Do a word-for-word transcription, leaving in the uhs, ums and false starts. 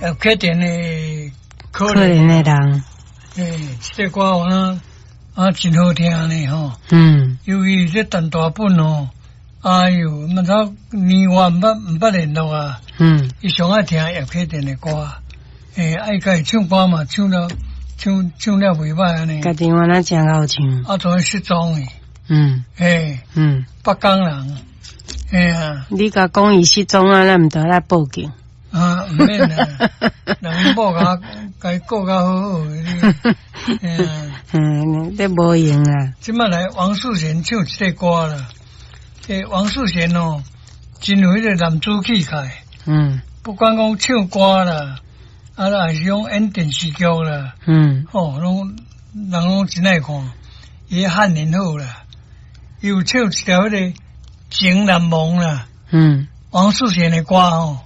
葉啟田的可可憐的人，欸，這個歌有影啊真好聽呢吼。嗯。尤其這陳大本哦，哎喲，毋知年月毋捌毋捌聯絡啊。嗯。伊上愛聽葉啟田的歌，欸，愛家己唱歌嘛，唱了唱唱了袂䆀按呢。家己原來真𠢕唱。啊，昨失蹤的。嗯。欸，嗯。北港人，欸啊。你共講伊失蹤啊，咱毋著來報警。啊，毋免啦，人𪜶某共共伊顧較好好的。嗯，這無用啊。這擺來王世賢唱這個歌啦，欸，王世賢哦，真有彼個男子氣概。嗯。不管講唱歌啦，啊，還是講演電視劇啦，嗯，吼，攏人攏真愛看。伊漢語好啦，伊有唱一條彼個情難忘啦。嗯。王世賢的歌吼。